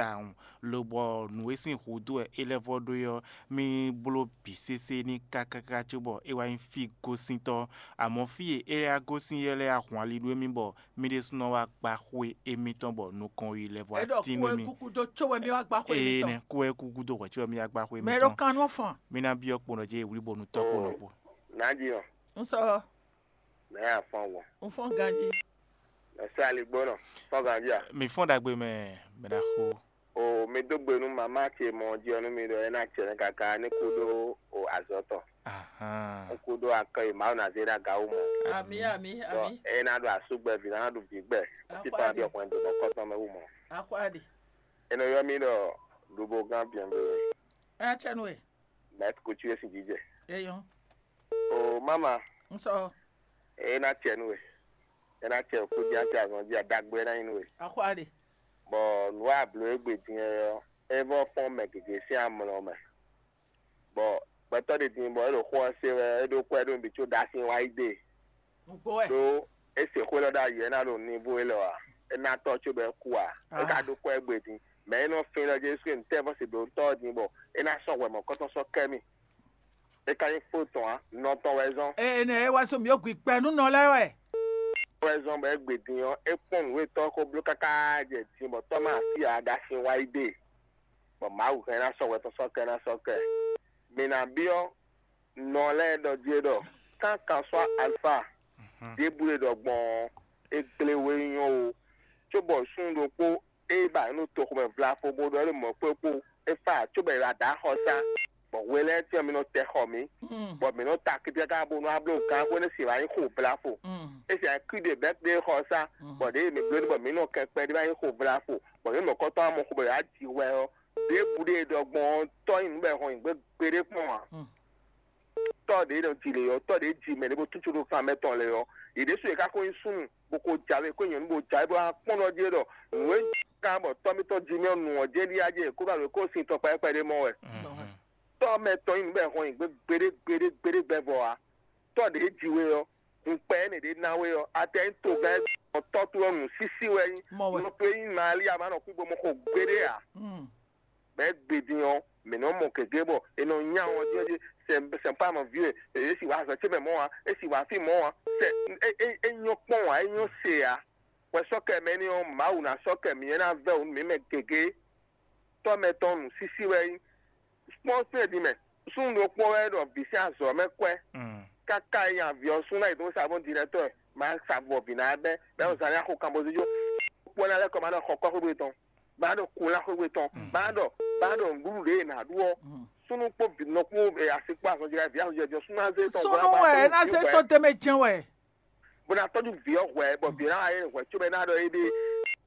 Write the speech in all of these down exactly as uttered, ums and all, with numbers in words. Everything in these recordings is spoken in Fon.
tawun, lobɔ nǔ e sín hudó wɛ é lɛ́ vɔ ɖó é ɔ́, mì bló bǐ sésé n'i kákáká cóbɔ é wá nyí fí gosíntɔ́. Amɔ̌ fí e é wá gosín é lɛ́ɛ ahwan li nú émí bɔ mì ɖésúnɔ wá gbá xwé émítɔn bɔ nukɔn yi lɛ́ vɔ É ɖɔ atín nú kú wɛ émí. Kúkú dó có wɛ mì wá gbá xwé Ee émítɔn. Nɛ, kú wɛ kúkú dó hwɛ̌ cóbɔ mì wá gbá xwé Mɛ é ɖó émítɔn. Kan nú fɔn. Mì ná byɔ́ kpo nɔ jɛ wlí bɔnu tɔ́ kpo nɔ kpo. Nǎjínɔ, Un sɔ, mɛ̌ a fɔ́n gbɔn? Un fɔ́n ganjí. Mɛ̌ sɛ́ aligbónɔ, fɔ́n ganjí a? Mì fɔ́n ɖagbe mɛ, mɛ ɖaxó. O, mi dó gbe nú mamá ce mɔ jí ɔ́ nú mi ɖɔ é ná cɛ nɛ́ káká ní kú ɖó o azɔ̌ tɔn. Ahán. Ní kú ɖó akɔ e Mawu ná zé ɖó aga wú mɔ. Amǐ, amǐ, Ɖɔ amǐ. É ná ɖo asúgbɛ́ví, ná ɖo vǐgbɛ́, Axwá títɔn ná ɖe. Byɔ́ xwɛndo mɔ̌kɔtɔn mɛ wú mɔ. Axwá ɖe. É nɔ ylɔ́ mì ɖɔ Lubogán Biɛngbé, Ɛ cɛ nú we. Maître Couture sín jǐjɛ. Eyɔn. O mama, Un sɔ. É ná cɛ nú we. É ná cɛ kú jí átɛ azɔn jí aɖagbe é ná nyí nú we. Axwá ɖe. Bɔ nǔ e a blǒ égbé din é ɔ́, é vɔ́ fɔ́n mɛ gěgé sín amlɔ mɛ. Bɔ gbɛtɔ́ ɖé din bɔ é ɖo xó ɔ́ se wɛ, é ɖó kwɛ́ ɖó nǔ bǐ có ɖó asin wá yi ɖe. Nǔgbó wɛ. Ɖó é se xwé lɔ ɖó ayǐ, é ná ɖo nivo élɔ́ ǎ. É ná tɔ́ cóbɔ é kú ǎ. É ka Ah. Ɖó kwɛ́ égbé din. Mɛ e nɔ fin lɔ Jezu Klísu tɛ́nvɔ́ se blǒ tɔ́ ɔ́ din bɔ é ná sɔ́ hwɛ mɔ̌kɔtɔn sɔ́ kɛ mì. É ka nyí kpó tɔn ǎ, nɔ tɔn wɛ zɔ́n. Ene e wá sɔ́ mǐ yó gbi kpɛ nú nɔ lɛ́ɛ wɛ. Wɛ zɔ́n bɔ é gbe din ɔ́, é kpɔ́n nǔ e tɔ́ ɔ́ ko bló káká jɛ din bɔ tɔ́ ma fí ǎ ɖo asin wá yi ɖe. Bɔ Mawu hɛn ná sɔ́ hwɛ tɔn sɔ́ kɛ ná sɔ́ kɛ. Mǐ ná byɔ́ nɔ lɛ́ɛ ɖɔ jí é ɖɔ: Kankan sɔ́ alfa, ɖěbǔ e ɖɔ gbɔn ɔ́, é gblé we nyɔ́ o, cóbɔ súnnu ɖokpó e ba nǔ toxo mɛ vlafo bó ɖɔ é ɖo mɔ̌ kpó kpó, é fa cóbɔ è wǎ dó axɔsá, bɔ hwe lɛ́ɛ tɛ́ntin ɔ́ mi nɔ tɛ xɔ mǐ, bɔ mǐ nɔ ta akítíkáká bónú á bló gǎn xwé nú sin wǎ nyí xo vlafo. É sin akwíɖe bɛ́ kplé xɔsá, bɔ ɖěe mǐ bló ɖe bɔ mǐ nɔ kɛ kpɛɖé wá nyí xo vlafo, bɔ mǐ mɔ kɔ́tɔ́ amɔ xo bɔ yě wá ji hwɛ ɔ́, ɖěbǔ ɖe e ɖɔ gbɔn ɔ́, tɔ́ nyi nǔ bɔ è hɔn nyi gbé gbeɖé kpɔ́n ǎ. Tɔ́ ɖě nɔ ji lě ɔ́, tɔ́ ɖě ji mɛ ɖé bó tútú ɖó kan mɛ tɔn lě ɔ́, yě ɖésú yě ka ko nyí súnnu, bó ko jǎwe, ko nyɔ̌nu bó jǎwe, bó wá kpɔ́n ɖɔ jí é ɖɔ nǔ e ka bɔ tɔ́ mitɔ́ ji mɛ ɔ́, nǔ ɔ́ jɛ ɖíe a jɛ kó ba ɖo kó sin tɔn kpɛɖé kpɛɖé mɔ wɛ. Tɔ́ mɛ tɔn nyí nǔ bɔ è hɔn nyi gbé gbeɖé gbeɖé gbeɖé gbɛvɔ ǎ. Tɔ́ ɖě ji we ɔ́, hun kpɛ énɛ́ ɖě ná we ɔ́, a tɛ nyí togán ɔ́ tɔ́ towe ɔ́ nǔsísí wɛ nyí. Mɔ wɛ. Nɔ towe nyí Malia ma nɔ kú bo mɔ xo gbeɖé ǎ. Bɔ é gbe din ɔ́, mǐ nɔ mɔ gěgé bɔ è nɔ nya wɔn jí ɔ́ jí, sɛn sɛn pa mɔ vǐ e, é si wǎ azɔ̌ ce mɛ mɔ̌ ǎ, é si wǎ fí mɔ̌ ǎ, sɛ é é é nyɔ́ kpɔ́n ǎ, é nyɔ́ se ǎ. Hwɛ sɔ́ kɛ mɛ ní ɔ́, Mawu ná sɔ́ kɛ mǐ é ná vɛ́ wǔ nú mǐ mɛ gěgé. Tɔ́ mɛ tɔn nǔsísí wɛ é nyí. Kpɔ́n fí e din mɛ, súnnu ɖokpó wɛ ɖɔ vǐ sín azɔ̌ mɛ kwɛ́, káká e nyi avǐ ɔ́ sú ná yi dó sa bó dirɛtɔ́, ma sa vɔ vǐ ná bɛ́, bɛ́ ɔ́ zán ní axo kanbózújó. Kpɔ́ ná lɛ́ kɔ ma ɖɔ xɔ kɔ́ xwé tɔn, ma ɖɔ kun lá xwé tɔn, ma ɖɔ ma ɖɔ nǔɖuɖu ɖě è nǎ ɖu ɔ́. Súnnu kpó vǐ nɔ kpó asi kpó azɔn jɛ vǐ azɔn jɛ jɔ súnnu azé tɔn. Súnnu wɛ é ná zé tó tɛmɛ jɛn wɛ. Bó ná tɔ́jú vǐ ɔ́ hwɛ̌, bɔ vǐ ɔ́ ná wá yɛ hwɛ̌ cóbɔ é ná ɖɔ éɖée.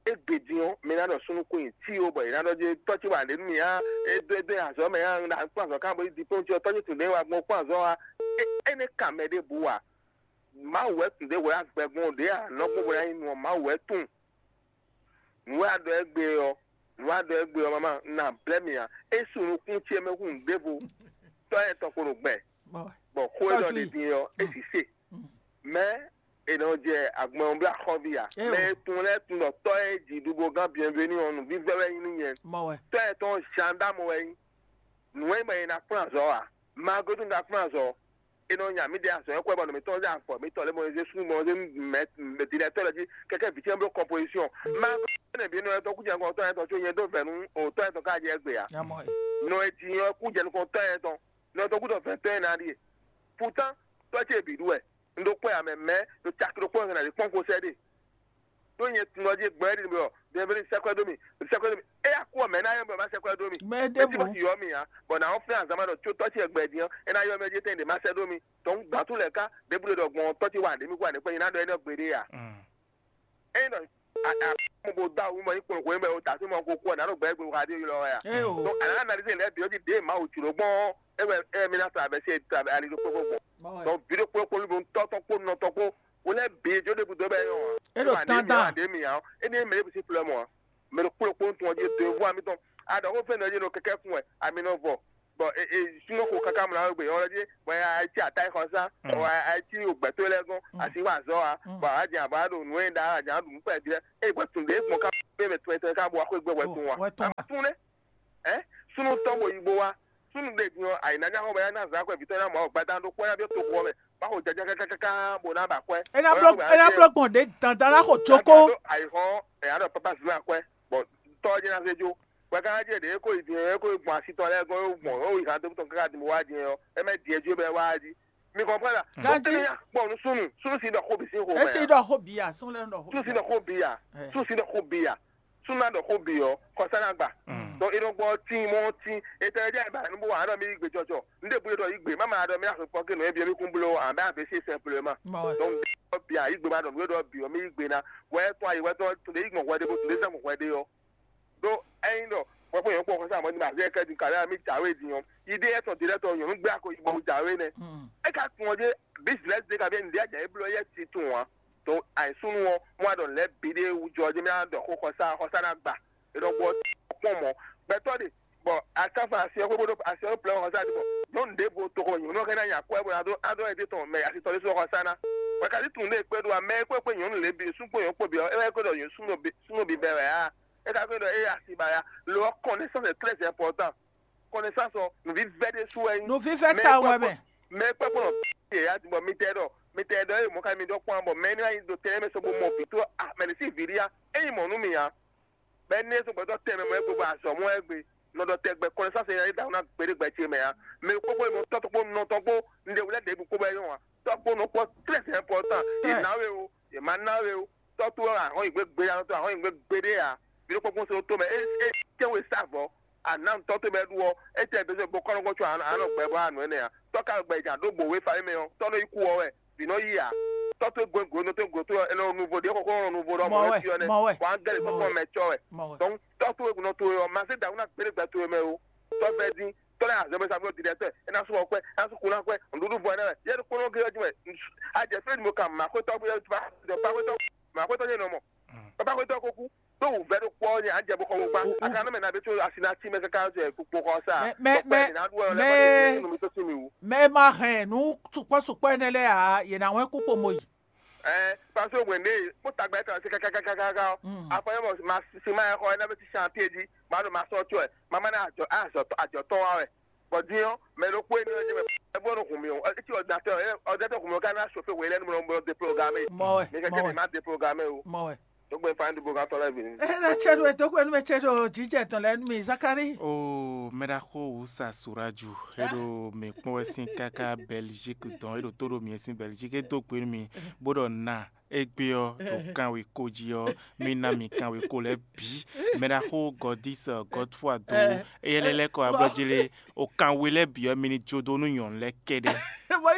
Égbé din ɔ́, mi ná ɖɔ súnnu kún nyi tí ó, bɔ è ná ɖɔ jé tɔ́ ce wà lě nú mì á, é dó é dó nyi azɔ̌ mɛ á, un ɖo kplɔ́n azɔ̌ ká bó yi diplôme ce ɔ́, tɔ́ ce tún ɖě wá gbɔn kplɔ́n azɔ̌ wá. Énɛ́ kan mɛ ɖěbǔ ǎ. Mawu wɛ tún ɖě hwɛ agbɛgbɔn ɖě ǎ, nɔ gbɔn bó ná nyí nu ɔ́, Mawu wɛ tunwun. Nǔ e a ɖɔ égbé ɔ́, nǔ e a ɖɔ égbé ɔ́, mama, un ná blɛ́ mi ǎ. É su nukún ce mɛ hú nǔɖévo. Tɔ́ ɛ tɔn ko ɖo gbɛ, bɔ xó e ɖɔ ɖe din ɔ́, é sǐ se. Mɛ̌ è nɔ jɛ agbɛnwɔnblá xɔ́ví ǎ? Mɛ e tunwun lɛ́ɛ tunwun ɖɔ tɔ́ e ji ɖubo gán Bienvenu ɔ́, nǔvívɛ́ wɛ nyí nú nyɛ. Tɔ́ ɛ tɔn Zandám wɛ nyí. Nǔ e mɛ è nǎ kplɔ́n azɔ̌ ǎ. Magodu un ka kplɔ́n azɔ̌. È nɔ nya mǐ ɖe azɔ̌ e xwɛ bɔ nɔ mǐtɔn zé afɔ mǐtɔn lě mɔ zé súnnu mɔ zé mɛ directeur lɔ jí kɛkɛ vǐ ce bló composition. Magodu ne bǐ nɔ etɔ́ kú jɛ nukɔn tɔ́ etɔn có nyɛ dó vɛ̌ nú o tɔ́ etɔn ká jɛ égbé ǎ. Nɔ e ji nyɔ kú jɛ nukɔn tɔ́ etɔn. Nɔ etɔn kú ɖɔ vɛ̌ tɔ́ e ná ɖíe. Pourtant tɔ́ ce bǐ ɖu wɛ. Un ɖo kpɔ́ ya mɛ mɛ̌ ɖo caki ɖokpó ɔ́ hɛn ná ɖi kpɔ́n ko sɛ́ ɖe. Ɖó nyɛ tunɔ jí gbɔn ɛ́ ɖi nǔ bɔ bienvenu sɛ́ kwɛ́ dó mì, sɛ́ kwɛ́ dó mì. Éyɛ́ kú ɔ́, mɛ̌ ná yɔ́ mì bɔ má sɛ́ kwɛ́ dó mì? Mɛ ɖěbǔ. Mɛ tí bɔ yɔ́ mì ǎ, bɔ nǎ ɔ́ flɛ́n azǎn ma ɖɔ có tɔ́ ce gbɛ din ɔ́, é ná yɔ́ mì jí tɛ́ntin ɖě má sɛ́ dó mì. Tɔ̌ un gbǎn tún lɛ̌ ká, ɖěbǔ ɖe ɖɔ gbɔn tɔ́ ce wa ɖě mì kú ǎ, nɛ̌ kpɛ́ nyi ná ɖɔ énɛ́ gbeɖé ǎ. Ényí ɖɔ a a mo bo dó awu mɔ yí kplɔn hwenu bɔ o da fí mɔ ko kú ɔ́, nǎ ɖo gbɛ égbé ha ɖé ylɔ́ wɛ a? Ée o. Donc à la analyse lɛ́ɛ bǐ ɔ́ jí ɖěe Mawu jlǒ gbɔn ɔ́, é wɛ é mì ná sa abɛ̌ se ali ɖokpó gbɔn. Mɔ wɛ. Donc vǐ ɖokpó ɖokpó lóbo tɔ́ tɔn kpó nɔ tɔn kpó, wo lɛ́ɛ bǐ jó ɖěbǔ dó bɛ é nyɔ́ ǎ. É ɖo Wá ɖě mì, dandan. Wá ɖě mì ǎ ɔ́, é ní mɛ ɖěbǔ sín flɛ́ mɔ ǎ. Mɛ ɖokpó ɖokpó tɔn ɔ́ jí do evo ami tɔn. A ɖɔ xó fɛ́nɛ ɔ́ jí nɔ kɛkɛ́ kun wɛ, ami nɔ vɔ. Bɔ e e sunɔ ko kaka mla wegbe yɔn lɛ dzi bɔ e ayi ci ata yi xɔsa bɔ ayi ci ogbɛtɔ lɛ gɔn asi wa zɔ wa bɔ a jan ba ɖo nu e da a jan ɖu nu kpɛ di lɛ e bɔ tun de gbɔn ka pe mɛ tun etɔn ka bɔ wa ko gbɛ wɛ tun wa a tun ne ɛ sunu tɔn bo yi bo wa sunu de din ɔ ayi na nya xɔ bɔ ya na zan kɔ vitɔ na mɔ gbada ɖo kpɔ ya bi to kɔ mɛ ba ko jaja kakaka bo na ba kɔɛ. Ena blɔ ena blɔ gbɔn de dandan la xɔ tsoko. Ayi xɔ ɛ ya ɖɔ papa zan kɔɛ bɔ tɔ jɛ na se jo. Wɛ ka ná jɛ ɖě e ko yi din e ko yi gbɔn asi tɔn lɛ́ɛ gɔ́n e gbɔn e yi han dó tɔn káká din bó wá din ɔ́, é mɛ din e jí bɛ wá jí. Mi kɔnpɔn la? Ganji. Tɛnɛ ya kpɔ nu sunu sunu si ɖɔ xó bi sín xó mɛ. Esi ɖɔ xó bi ya, sun lɛ ɖɔ xó. Sunu si ɖɔ xó bi ya. Sunu si ɖɔ xó bi ya. Sunu na ɖɔ xó bi ɔ, kɔsa na gba. Donc e nɔ gbɔ tin mɔ tin e tɛ jɛ ba nu bó wa ɖɔ mi yi gbe jɔjɔ. N de bu ɖɔ yi gbe, mama ɖɔ mi na sɔ pɔke nɔ e bi mi kun blo an bɛ a bɛ se simplement. Donc n de bi a yi gbe ma ɖɔ nu e ɖɔ bi ɔ mi yi gbe na. Wɛ tɔn ayi wɛ tɔn tun de yi gbɔn hwɛ de bo tun de zan gbɔn hwɛ de ɔ. Ɖó ényí ɖɔ hwɛ̌kpɛ́n nyɔ̌kpɔ́ xɔsá mɔ̌ ní ma zɛ kɛ din kaɖé mì jǎwe din ɔ́, yi ɖé yɛ́ tɔn ɖě lɛ́ɛ tɔn nyɔ̌nu gbé ako yi bɔ wú jǎwe nɛ́. É ka tunwun ɔ́ jé bísínɛ́sì ɖé ka byɔ́ nǔɖé ajǎ é bló yɛ́ titun ǎ. To ayǐsúnú ɔ́, mɔ a ɖɔ nǔ lɛ́ɛ bǐ ɖé wú jɔ ɔ́ jé mì ná ɖɔ xó xɔsá xɔsá ná gba. È nɔ gbɔ kpɔ́n mɔ̌. Gbɛtɔ́ ɖe bɔ akáfa asi ɔ́ xwé bó ɖó asi ɔ́ ɖó plɛ́ xɔsá ɖi bɔ nyɔ̌nu ɖěvo toxo mɛ nyɔ̌nu ɔ́ ka ná nya kwɛ́ bó ná ɖó adó ɛdí tɔn mɛ asi tɔn ɖésú xɔsá ná. Bɔ kasi tunwun ɖé kpé ɖó ǎ, mɛ e kpé kpé nyɔ̌nu lě bǐ, súnnu kpó nyɔ̌nu kpó bǐ ɔ́, é wɛ kpé ɖɔ nyɔ̌nu súnnu bǐ bɛ́ wɛ ǎ. É ka kpé ɖɔ éyɛ́ asi ba ya. Lo ɔ́, connaissance est très important. Connaissance ɔ́, nǔvívɛ́ ɖésú wɛ nyí. Nǔvívɛ́ tawun wɛ mɛ. Mɛ e kpɛ́ kpɔ́n nɔ yě ya bɔ mi tɛ ɖɔ mi tɛ ɖɔ ée mɔ̌ ka mi ɖɔ kpɔ́n bɔ mɛ énɛ́ wá nyi ɖo tɛnmɛ sɔ bó mɔ vǐ tó a mɛ ɖě sín vǐ ɖíe a é nyí mɔ̌ nú mi ǎ. Bɔ énɛ́ sɔ́ gbɛtɔ́ tɛnmɛ mɔ é gbe bɔ azɔ̌ mɔ wɛ gbe nɔ ɖɔ tɛgbɛ connaissance e nya ɖaxó ná gbeɖé gbɛ ce mɛ ǎ. Mɛ kpókpó e mɔ tɔ́ tɔn kpó nɔ tɔn kpó un ɖe wlɛ́ ɖěbǔ kpó bɔ é nyɔ́ ǎ. Tɔ́ kpó nɔ kpɔ́ très important. Yě ná we o, yě má ná we o. Tɔ́ towe wɛ ahɔn yi gbé gbeɖé ǎ, tɔ́ ahɔn yi gbé gbeɖé ǎ. Vǐ ɖokpó kún se ɖó tó mɛ, é é tɛ́nwe sá vɔ̌. Àná tɔ́ towe bɔ é ɖu ɔ́, é tɛ bɛ́ sɔ́ bó kɔ́ nɔ gbɔ có àná gbɛ bɔ anǔ énɛ́ ǎ. Tɔ́ ka gbɛ ja ɖó bǒ we fa émɛ ɔ́, tɔ́ nɔ yi kú ɔ́ wɛ. Vǐ nɔ yi ǎ. Tɔ́ towe gɔn gǒ nɔ tó gǒ tó ɔ́, é nɔ nuvo ɖě xɔxɔ nɔ nuvo ɖɔ mɔ̌ wɛ, mɔ̌ wɛ, mɔ̌ wɛ. Wǎn gɛ́ lě kɔ́kɔ́ mɛ cɔ́ wɛ. Mɔ̌ wɛ. Donc tɔ́ towe nɔ towe ɔ́, ma zé dǎ wú ná gbéɖégbɛ towe mɛ o. Tɔ́ vɛ́ dín, tɔ́ lɛ́ azɔ̌ mɛ sa fún directeur, é ná sú xɔ kɔ́ ɛ, é ná sú kú ná kɔ́ ɛ, nǔɖuɖu vɔ ɛ nɛ́ wɛ. Yɛ ɖokpónɔ gé ɔ́ jí wɛ, a jɛ fɛ́ mo kan mǎ xwétɔ́ bó yɛ ba xwétɔ́ mǎ xwétɔ́ nyɛ nɔ mɔ. Baba xwétɔ́ ko kú, ɖó wǔvɛ́ ɖokpó ɔ́ nyɛ a jɛ bó xɔ wó gbá. A ka nɔ mɛ ná bɛ có asi ná cí mɛ káká jɛ kpokpo xɔ sa. Mɛ mɛ mɛ mɛ mɛ ma hɛn nǔ sukpɔ́ sukpɔ́ énɛ́ lɛ́ɛ ǎ, yě ná wɛn kú kpo mo yi. Ɛɛ, parce que wɛn ɖe kpó tagba yɛ tɔn se kakakakaka ɔ. Afɔ yɛ mɔ ma si ma yɛ xɔ ɛnɛ bɛ ti chantier jí, ma ɖo ma sɔ tso ɛ, ma ma na ajɔ ajɔ ajɔ tɔn wa wɛ. Bɔ din ɔ, mɛ ɖokpó énɛ́ ɔ́ jɛ mɛ, ɛ bó nɔ hun mi o, ɛ ti ordinateur ɛ ordinateur hun mi o ka na chauffer wɛ lɛ nu mɔ déprogrammer. Mɔ wɛ, mi kɛ mɔ kɛ wɛ. Mi ma déprogrammer o. Mɔ wɛ. Dogbe fan du bogan tɔ lɛ vini. Ena cɛ ɖo edogbe nu mɛ cɛ ɖo jijɛ tɔn lɛ nu mi Zakari. O mɛɖaxo wusa suraju eɖo mi kpɔn wɛ sín káká Belgique dɔn eɖo tó ɖo mi sín Belgique edo gbe mi bó ɖɔ na egbe ɔ ɖo kanwe ko jí ɔ mi na mi kanwe ko lɛ bi mɛɖaxo gɔdis gɔdfua do eyɛ lɛ lɛ kɔ ablɔjele o kanwe lɛ bi ɔ mi ni jo do nu nyɔnu lɛ kɛɖɛ.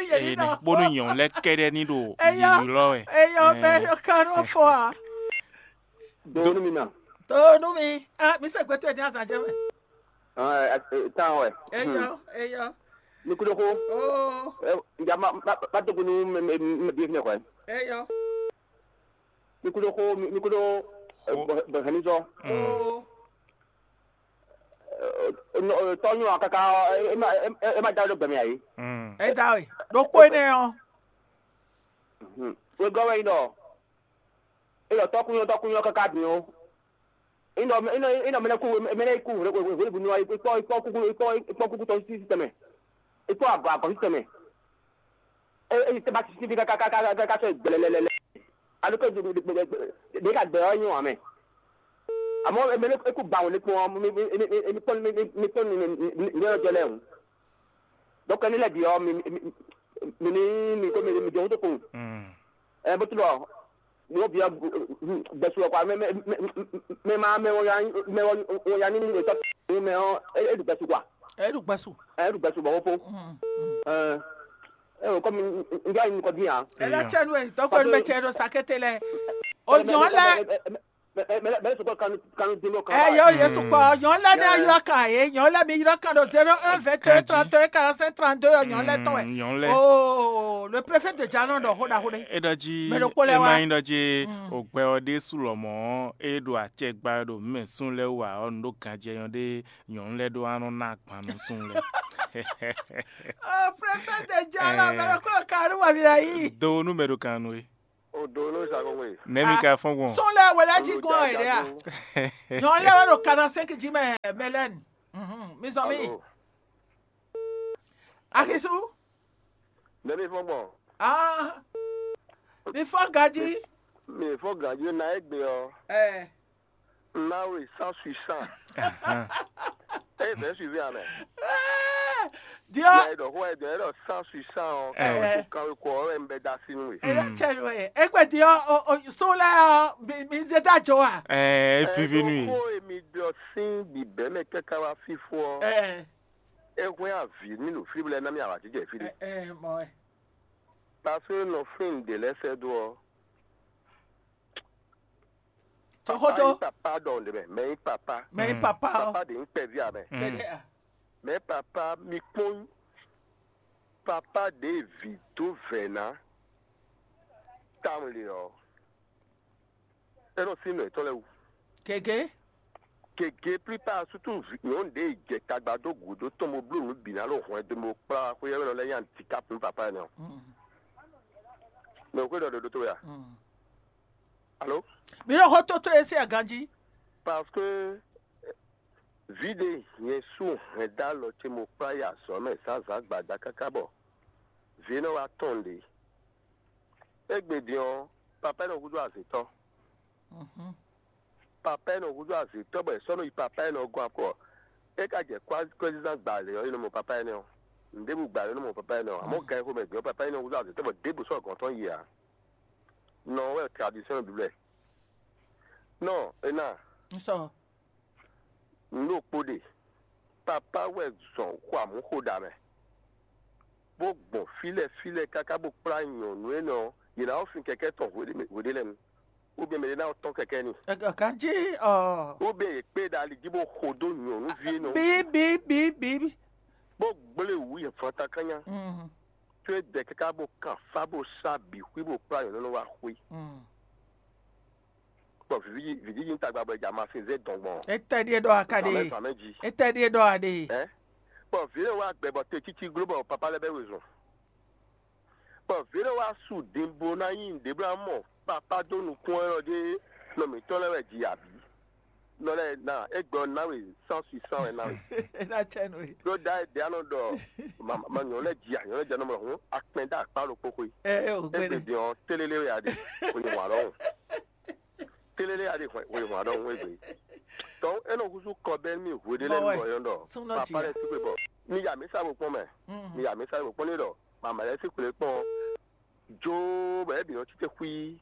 Bónú nyɔnu lɛ kɛɖɛ ní ɖo yiyi lɔ wɛ. Eyɔ mɛ yɔ kan nɔ fɔ a. Donu mi ma. Donu mi. Ah, mi se gbɛtɔ ɛdi azan jɛ mɛ. Tan wɛ. Eyɔ, eyɔ. Mikudoko. Oh. Ya ma ma ma to kunu me me me bi ne kɔɛ. Eyɔ. Mikudoko mikudoko. Bɛhɛnizɔ. Oh. Tɔnyɔ kaka e ma e ma da ɖo gbɛmɛ ayi. Eda we. Ɖokpo ne ɔ. Wegɔ wɛ yi dɔ. Eyɔ tɔkunyɔ tɔkunyɔ kaka din o. Inɔ inɔ inɔ mɛnɛ ku mɛnɛ ku hwele hwele bu nɔ ikpɔ ikpɔ kuku ikpɔ ikpɔ kuku tɔ si tɛmɛ ikpɔ agɔ agɔ si tɛmɛ. E e tɛ ba si fi kaka kaka kaka sɔ gbɛlɛlɛlɛ. Alo ke ɖe ka gbɛ ɔ nyɔ amɛ. Amɔ mɛnɛ eku ba wòle kpɔn mi mi mi mi mi kpɔn mi mi mi kpɔn mi mi mi mi yɔrɔ jɔ lɛ o. Donc ne lɛ bi ɔ mi mi mi mi mi mi ko mi mi jɔ wuto kun. Ɛ bó tún bɔ wọ́n bí gbẹ̀sù ọ̀pá mẹ́ma mẹ́wọ́n ya ní ní ìtọ́ mẹ́ ọ́ ẹ̀dùn gbẹ̀sù kwa. Ẹ̀dùn gbẹ̀sù. Ẹ̀dùn gbẹ̀sù bọ̀ wọ́n fó. Ẹ ò kọ́ mi njẹ́ àyìn nìkan dín yàn. Ẹ lọ tsẹnu ẹ tọkọ ẹnu mẹ tsẹ ẹnu sakete lẹ. Onyọ lẹ. Mɛ sɔkɔ kanu kanu dolo kan. Ẹ yọ Yesu kpɔ nyɔ lɛ ní ayɔ kan yé nyɔ lɛ mi yɔ kan do zéro un vingt deux trente un quarante cinq trente deux nyɔ lɛ tɔn wɛ. Nyɔ lɛ. Oh, le préfet de Djalon dɔ xó ɖaxó ɖé. E ɖɔ jí. Mɛ ɖokpó lɛ e wá. Ma nyi ɖɔ jí ogbɛ ɔ ɖe su lɔ mɔ e ɖo acɛ gba ɖo mɛ sun lɛ wa ɔ nu ɖo ganjɛ nyɔ ɖe nyɔnu lɛ ɖo anɔ na agban nu sun lɛ. Oh, préfet de Jala, mɛ ko kanu wa mi la yi. Do nu mɛ ɖo kan nu e. O do nu sa ko we. Nɛ mi ka fɔn gbɔn. Sɔn lɛ wɛlɛ ji gbɔn e de a. Nyɔn lɛ wɛ ɖo kana cinq ji mɛ mɛlɛn. Mhm, mi zɔn mi. Alo. Akisu. Nɛ mi fɔn gbɔn. Ah. Mi fɔn gaji. Mi fɔn gaji na egbe ɔ. Eh. Now it's sans puissant. Ahan. Eye vɛ suivi amɛ. Diɔ. Eye dɔ xɔ eye dɔ eye dɔ sans puissant ɔ. Eh. Kan kan ko ɔ ɛ mbɛ da si nu e. Eye cɛ nu e. Ekpe diɔ o o so lɛ ɔ mi mi zeta jo wa. Eh, vivi nu e. Ko emi dɔ sin bi bɛ mɛ kaka wa fifo ɔ. Eh. E hwɛ avi mi nu fili bla na mi awa jijɛ fili. Eh, eh, mɔ ɛ. Parce que nɔ fin de lɛ sɛ do ɔ. Tɔxɔtɔ. Papa yi papa dɔ de mɛ, mɛ yi papa. Mɛ yi papa ɔ. Papa de yi kpɛvi amɛ. Tɛnɛ a. Mɛ papa mi kpɔn papa de vi do vɛ na. Tam le ɔ. E nɔ sin nɔ etɔn lɛ wu. Gege. Gege plupart surtout nyɔnu de jɛ tagba do gu do tɔn mo blu nu bi na lo hɔn do mo kpla xwe yɛ nɔ lɛ yan ti kap nu papa ne ɔ. Mais xwe dɔ do do to ya. Alo. Mi ɖo xɔ toto esi aganji. Parce que vi ɖe nyɛ sú hɛn dó alɔ ce mo kplá yi azɔ̌ mɛ zǎnzǎn gbada káká bɔ vǐ énɛ́ wá tɔn ɖě. Égbé din ɔ́, papa énɛ́ húzú azětɔ́. Papa énɛ́ húzú azětɔ́ bɔ è sɔ́ nɔ yi papa énɛ́ ɔ́ gɔ́n akɔ. É ka jɛ kwɛzizán gbalě ɔ́, é nɔ mɔ papa énɛ́ ɔ́. Nǔɖébǔ gbalě nɔ mɔ papa énɛ́ ɔ́. Amɔ̌ gan e xomɛ din ɔ́, papa énɛ́ húzú azětɔ́ bɔ ɖěbǔ sɔ́ gɔ̌n tɔn yi ǎ. Nɔ ɔ́ wɛ tradisyɔn Biblu. Nɔ é ná. Nǔ ɖokpó ɖe, papá wɛ zɔn xɔ amǔ xo ɖa mɛ, bó gbɔn fí lɛ́ɛ fí lɛ́ɛ káká bó kplá nyɔ̌nu énɛ́ ɔ́, yě ná ɔ́ fin kɛkɛ́ tɔn hweɖé lɛ́ɛ nu, ou bien mɛ ɖé ná ɔ́ tɔ́n kɛkɛ́ n'i. Ganjí ɔ. Ou bien yě kpé ɖa ali jí bó xo dó nyɔ̌nuví énɛ́ ɔ́. Bí bí bí bí. Bó gblé wǔ yě fɔntakánnyá. Tó é dɛ káká bó kan fá bó sá bǐ xwí bó kplá nyɔ̌nu énɛ́ wá xwé. Bɔ vǐ vǐjiji tagba bɔ è jɛ amasin zé dɔn gbɔn. Etɛ ɖíe ɖɔ a ka ɖe? Zǎnmɛ zǎnmɛ jí. Etɛ ɖíe ɖɔ a ɖe? Ɛ? Bɔ vǐ lɛ́ɛ wá gbɛ bɔ te cící gló bɔ papá lɛ́ɛ bɛ́ wezun. Bɔ vǐ lɛ́ɛ wá su din bo ná nyi nǔɖé bó ná mɔ papá dó nukún ɔ́ ɖé nɔ mǐtɔn lɛ́ɛ wɛ ji abǐ. Nɔ lɛ́ɛ ná égbé ɔ́ ná we sán sui sán wɛ ná we. É ná cɛ nú we. Ɖó da é ɖě anɔ ɖɔ ma nyɔ̌ lɛ́ɛ ji a nyɔ̌ lɛ́ɛ jɛ nɔ mɔ hǔn akpɛn dó akpá ɖokpó xwé. Ɛ ɛ o gbé Égbé ɖe. Din ɔ́ télélé wɛ a ɖe. Kò ní wǎn ɖɔhun. Télélé a ɖe hwɛ hwɛ hwɛ ɖɔ hwɛ gbe. Donc e nɔ húzú kɔ bɛ mi hwe ɖe lɛ Bɔwɛ, nɔ yɔn ɖɔ súnɔ papa jìyà. Lɛ tukpe bɔ mi ya mi sa bo kpɔn mɛ. Mi ya mi sa bo kpɔn ne ɖɔ mama lɛ si kple kpɔn jo bɔ e bi nɔ tite xwi.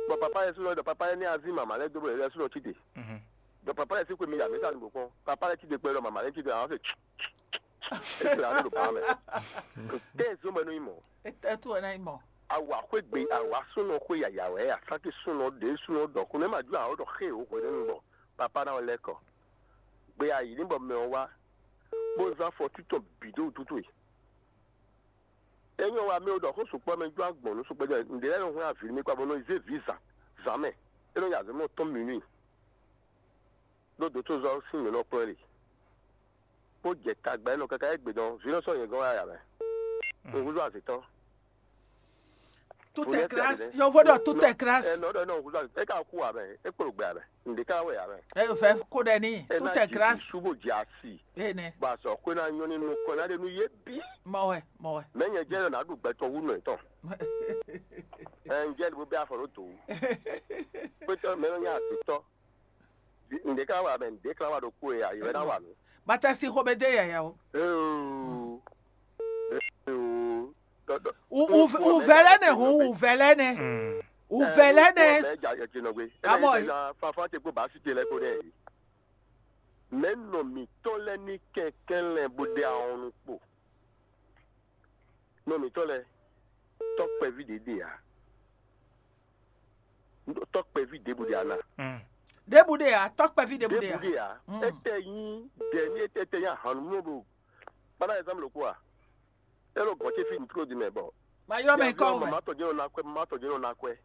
Bɔ papa lɛ sunɔ ɖɔ papa lɛ ne azi mama lɛ do bɔ lɛ sunɔ tite. Ɖɔ papa lɛ si kple mi ya mi sa bo kpɔn papa lɛ tite kpe ɖɔ mama lɛ tite awa fɛ. Ekple alo ɖo ba mɛ. Tɛ zɔn bɛ nɔ yi mɔ. Etɛ tu wɛ na yi mɔ. Awa xwé gbe awa súnɔ xwé yaya wɛ asáké súnɔ ɖě súnɔ ɖɔ xó nɛ ma jó awɔ ɖɔ xé o hwɛ nínú bɔ papa ná lɛ kɔ. Gbe ayi ní bɔ mɛ ɔ wá bó zán fɔ títɔ bǐ dó wútútú e. Enyɔ wa mɛ o ɖɔ xó sukpɔ mɛ jó agbɔn nú sukpɔ jɛ ǹdè lɛ nɔ hwɛ avi mi kpa bɔ nɔ zé vi zan zan mɛ. E nɔ ya zɔn mɔ tɔn minui. Ɖó dotozɔ sín mǐ nɔ kplɔ́n ɖe. Bó jɛ tagba énɔ káká égbé dɔn vǐ nɔ sɔ́ nyɛ gɔ́n wá ya mɛ. Un húzú azǐtɔ́. Tout est grâce. Yɔnvɔ ɖɔ tout est grâce. Ɛnɔ ɖɔ ɛnɔ un húzú azǐtɔ́. É ka kú wa mɛ. É kplɔ gbɛ mɛ. Ǹdè ká wɛ ya mɛ. Ɛ fɛ kó ɖɛ ní. Tout est grâce. Sú bó jɛ asi. Ene. Bó a sɔ xwé ná nyɔ ní nukɔn ná ɖe nú yé bí. Mɔ wɛ, mɔ wɛ. Mɛ nyɛ jɛ nɔ ná ɖu gbɛtɔ wú nɔ tɔn. Ɛ ń jɛ ní bó bɛ afɔ ló dò wú. Pétɔ mɛ nɔ nyɛ azǐtɔ́. Ǹdě ká wà mɛ, ǹdě ká wà ɖokpó e a, yě wɛ ná wà mí. Bata si xɔ bɛ dé yaya o. Ee. Ee. Uvɛlɛ ne hun uvɛlɛ ne. Uvɛlɛ ne. Amɔ. Fafa te kó baasi te lɛ kó dɛ. Mɛ nɔ mǐtɔn lɛ ní kɛnklɛn bó ɖe ahɔn nu kpo. Nɔ mǐtɔn lɛ tɔkpɛví ɖě ɖe ǎ. Tɔkpɛví ɖěbǔ ɖe ana. Ɖěbǔ ɖe ǎ, tɔkpɛví ɖěbǔ ɖe ǎ. Ɖěbǔ ɖe ǎ. Etɛ nyí ɖɛ ní etɛ nyí ahan nú mɔ blo. Kpana ɛzán loko a. Elo gɔn ce fi ntlo di mɛ bɔ. Ma ylɔ mɛ kɔ mɛ. Mama tɔ jɛn na kwɛ, mama tɔ jɛn na kwɛ.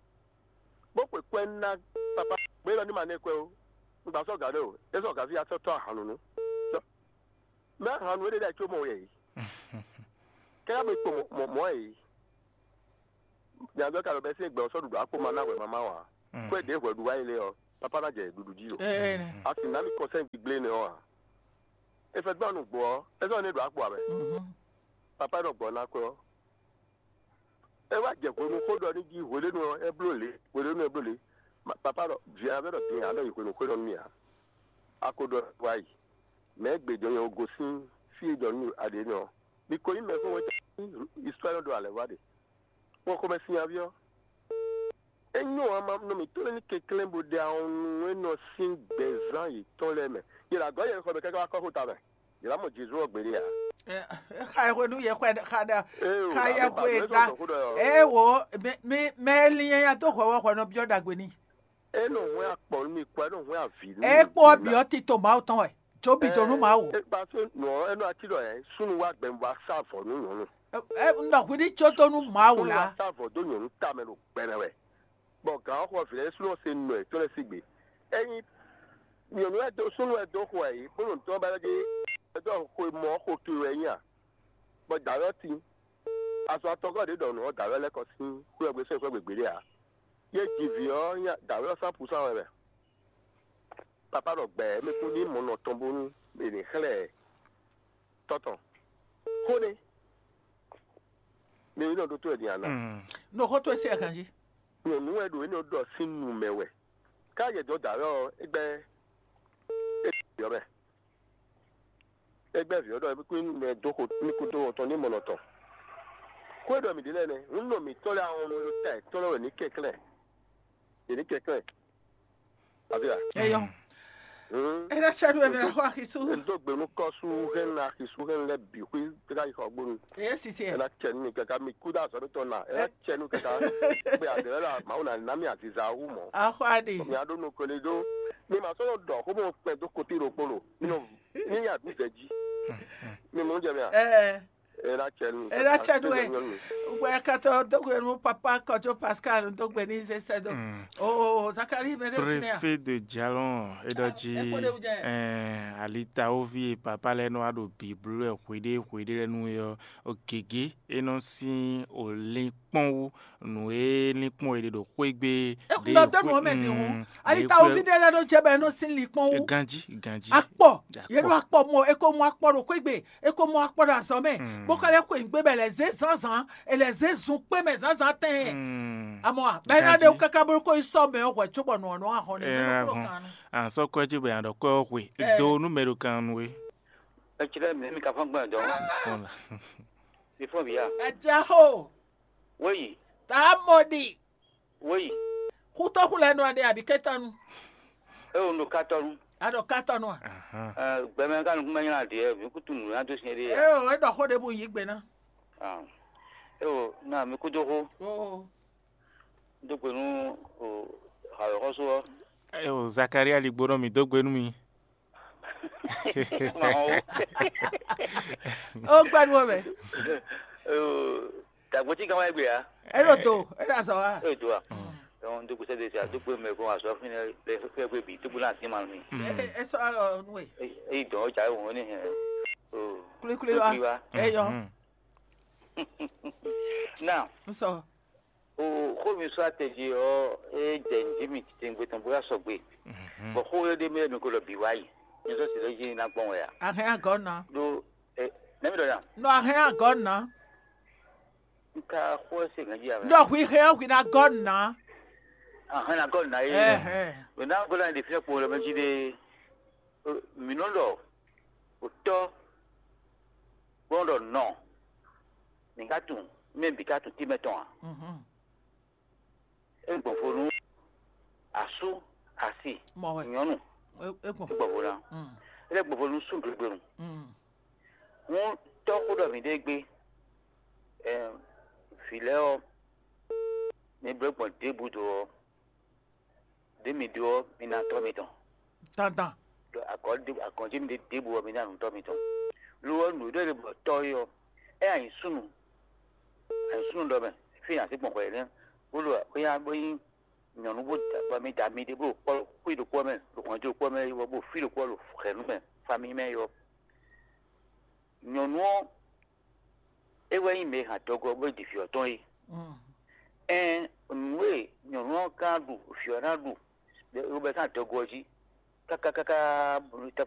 Bó kwe kwɛ na papa. Gbé lɔ ní ma nɛ kwɛ o. Ngba sɔ gǎ ɖe o. E sɔ gǎ fi asɔ tɔ ahan nunu. Mɛ hanu éɖé ɖo có mɔ wɛ yìí. Kɛ́ mɛ kpo mɔ mɔ yìí. Nyadɔ ka ɖo bɛ sín gbɛ ɔ́ sɔ́ ɖuɖu akpo ma ná hwɛ mama wa. Kó é ɖě hwɛ ɖu wá yi lé ɔ́, papa ná jɛ ɖuɖu jí o. Asi ná mi kɔnsɛn gbigblé nɛ ɔ́ a? É fɛ gbɔn nǔgbó ɔ́, é sɔ́ ní ɖo akpo ǎ mɛ. Papa nɔ gbɔ ná kwɛ ɔ́. É wá jɛ hwenu xó ɖɔ ní jí hweɖénu ɔ́ é bló lě, hweɖénu é bló lě. Papa ɖɔ vǐ ɔ́ vɛ ɖɔ din ǎ ɖɔ yi hwenu xó ɖɔ nú mì ǎ. A ko ɖɔ wá yi. Mɛ̌ gbe jɔ nyɛ gosín fí e ɖɔ nú aɖě nɛ ɔ́. Mi ko nyí mɛ xó wɛn tɛ́ histoire ɖo alɛ wá ɖe. Xó xomɛ sín aví ɔ́. É nyɔ́ ǎ ma nɔ mǐtɔn lɛ́ɛ ní kɛnklɛ́n bó ɖe awɔnnu e nɔ sín gbɛzán yětɔn lɛ́ɛ mɛ. Yě ɖo agɔ̌ yɛ̌xɔ mɛ káká wá kɔ́ xó ta mɛ. Yě ná mɔ Jezu ɔ́ gbeɖé ǎ. Xa e hwenu yɛ xwɛ xa ɖa. Xa yɛ xwe ɖa. Ɛ wo, mɛ lin nyanya dó hwɛ wɔ hwɛ nɔ byɔ́ ɖagbe n'i. É nɔ hwɛ́n akpɔ nú mi kpɔ, é nɔ hwɛ́n avǐ nú mi. É kpó ɔ́ bǐ ɔ́ tito Mawu tɔn wɛ. Jó bǐ dó nú Mawu. É kpa só nǔ ɔ́, é nɔ ací ɖɔ ɛ súnnu wá gbɛmɛ bó wá sá avɔ nú nyɔ̌nu. Un ɖɔ hwi ní có dó nú Mawu lá. Súnnu wá sá avɔ dó nyɔ̌nu tamɛ ɖo gbɛmɛ wɛ. Bɔ gǎn ɔ́ xɔ vǐ lɛ́ɛ ɖésú nɔ se nɔ ɛ tó lɛ́ɛ sígbe. Ényí nyɔ̌nu wɛ dó súnnu wɛ dó xo ɛ yě bó ɖo nǔtɔn ba lɛ́ ɖé ɛ dó xwe mɔ ɔ́ xo towe wɛ é nyí a? Bɔ dǎwe ɔ́ tín. Azɔn atɔngɔ́ ɖě ɖɔ nǔ ɔ́ dǎwe ɔ́ lɛ́ kɔ sín xwé ɔ́ gbe sɛ́n xwé gbe gbeɖé ǎ. Yě ji vǐ ɔ́ nyí dǎwe ɔ́ sán pusán wɛ mɛ. Papa ɖɔ gbɛ mɛ kún ní mɔ nɔ tɔn bónú è nǐ xlɛ́ ɛ. Tɔtɔ xó nɛ́. Mi nɔ ɖótó wɛ din ana. Ɖo xó towe sí aganjí. Nyɔ̌nu wɛ ɖo énɛ́ ɖɔ sín nu mɛ wɛ. Ká yɛ dɔ̌ dǎ wɛ ɔ́, é gbɛ́ é yɔ mɛ. É gbɛ́ vǐ ɔ́ ɖɔ é kún mɛ dó xo ní kúdó ɔtɔn ní mɔnɔ tɔn. Xó e ɖɔ mǐ ɖe lɛ́ɛ nɛ́, un nɔ mǐtɔn lɛ́ɛ ahɔn ɖo ta yětɔn lɛ́ɛ wɛ ní kɛnklɛ́n. Yě ní kɛnklɛ́n. Afi a? Eyɔ. Ena sɛdu ebe na xɔ axisu. N dó gbe nú kɔsu hɛn na axisu hɛn lɛ bi xwi tɛka yi xɔ gbonu. Eye sisi ɛ. Ena cɛ nu kaka mi kuda azɔ mi tɔn na. Ena cɛ nu kaka. Gbe adɛrɛ la mawu na na mi aziza wu mɔ. Axɔ adi. Mi ado nu kole do. Mi ma sɔlɔ dɔ ko mo kpɛ do koti ro kpolo. Mi no mi ya du zɛ ji. Mi mo jɛ mi a. Ɛɛ. Ena cɛ nu. Ena cɛ nu ɛ. Wɛ katɔ dogbe nu papa kɔjɔ Pascal dogbe ni zɛ sɛ do. Oh, Zakari mɛ de fina. Préfet de Djalon eɖɔ ji. Alitawovi papa lɛ nɔ wa ɖo biblu ɛ hweɖe hweɖe lɛ nu yɔ. O gege e nɔ sin o linkpɔn wu nu e linkpɔn e ɖe ɖo xwegbe. Ekunɔ dɔnu ɔmɛ di hu. Alitawovi ɖe lɛ ɖo jɛ bɛ nɔ sin linkpɔn wu. Ganji ganji. Akpɔ. Yɛ ɖo akpɔ mɔ eko mɔ akpɔ ɖo xwegbe. E ko mɔ akpɔ ɖo azɔ̌ mɛ, bó ka lɛ́ xweyǐgbe bɔ è lɛ̌ zé zǎnzǎn, è lɛ̌ zé zun kpé mɛ zǎnzǎn tɛɛn. Amɔ a, bɔ é ná ɖe wú káká bó ko yi sɔ́ mɛ ɔ́ hwɛ̌ cóbɔ nǔ ɔ́ nɔ́ wá hɔn n'i. Ɛ, nú kúnɔ hɔn. Kan nu. À ń sɔ́ kwɛ́ jí bɔ è nǎ ɖɔ kwɛ́ ɔ́ xwe. Ɛ. Do nú mɛ ɖo kan nu é. Etsile mi mi ka fɔn gbɔn dɔn. Fɔn la. Mi fɔn bi ya. Ɛ ja xo. Wéyi. Tá a mɔ ɖi. Wéyi. Xutɔ́xu lɛ́ɛ nɔ aɖe abǐ kɛ́tɔ́nu. É wo un ɖo kátɔ́nu. A ɖɔ kátɔ́nu a? Ahan. Ɛ, gbɛmɛ ka nukúnmɛ nylá ɖiɛ, mǐ kútu nǔ ná dó sin éɖée ǎ. Eo, é ɖɔ xó ɖěbǔ yí gbe ná. Ah. É wo ná mi kúdó xó. Oo. Dó gbe nú o xawěxɔ́sú ɔ́. É wo Zakaria ligbo nɔ mì dó gbe nú mi. Mawó. Ó gbádùn ọmọ ẹ̀. Dàgbò tí kan wáyé gbé ya. Ẹ ló tó, ẹ ló sọ wá. Ẹ ló tó wa. Ẹ̀wọ̀n tó kù sẹ́dẹ̀ sí àdúgbò mẹ́kún àṣọ fún ẹ fẹ́ gbé bì tó gbóná sí màlúù mi. Ẹ sọ ọ nù ẹ. Èyí dùn ọjà ìwọ̀n ní hẹn. Kulikuli wa. Ẹ yọ. Now. N sọ. O xó mi sɔ́ atɛji ɔ́, é jɛ nǔ jí mì titewungbe tɔn bó yá sɔgbe. Bɔ xó e ɖ'é mɛ mi ko ɖɔ bǐ wá yi. Mi sɔ́ si ɖɔ jí ná gbɔn wɛ a? Ahɛn agɔ̌ ná. Ɖó ɛ nɛ́ mi ɖɔ nya? Nɔ ahɛn agɔ̌ ná. Un ka xó ɛ se gǎn jí a? Nɔ hwi hɛn hwi ná gɔ́ ná. Ahɛn ná gɔ́ ná yé. Ɛhɛn. Ɖo ná gɔ́ ná ɖe fínɛ́ kpo lɛ mɛ jí ɖe. Mǐ nɔ ɖɔ otɔ́ gbɔn ɖɔ nɔ. Mǐ ka tunwun mɛ bǐ ka tunwun tínmɛ tɔn ǎ. É gbɔn vo nú asú asi nyɔ̌nu. É gbɔn vo ná. É lɛ́ gbɔn vo nú súnglígbénu. Hǔn tɔ́ xó ɖɔ mǐ ɖe gbé. Vǐ lɛ́ɛ ɔ́, mi bló gbɔn ɖěbǔ do ɔ́, ɖě mi ɖó ɔ́, mi ná tɔ́ mitɔn. Dandan. Ɖo agɔ̌ ɖé agɔ̌ jí mi ɖe ɖěbǔ ɔ́, mi ná nǔ tɔ́ mitɔn. Lo ɔ́, nǔ e ɖɔ è ɖe bɔ tɔ́ é ɔ́, é nyi súnnu, a nyi súnnu ɖɔ mɛ, fí nyi así gbɔn xwɛ nɛ́, bó ɖo bó nyá bó nyí nyɔ̌nu bó da bɔ mi da mi ɖé bó ɖo kpɔ́ xwí ɖokpó mɛ, ɖo hɔnjú ɖokpó mɛ, bó fí ɖokpó ɖo hɛ̌nnu mɛ, famí mɛ é ɔ́. Nyɔ̌nu ɔ́, é wɛ nyí mɛ e hɛn adɔgo ɔ́ bó yi ɖi vǐ ɔ́ tɔn é. Ɛn nǔ e nyɔ̌nu ɔ́ ka ɖu, vǐ ɔ́ ná ɖu, bɔ é sɔ́ adɔgo ɔ́ jí káká káká bó nɔ ta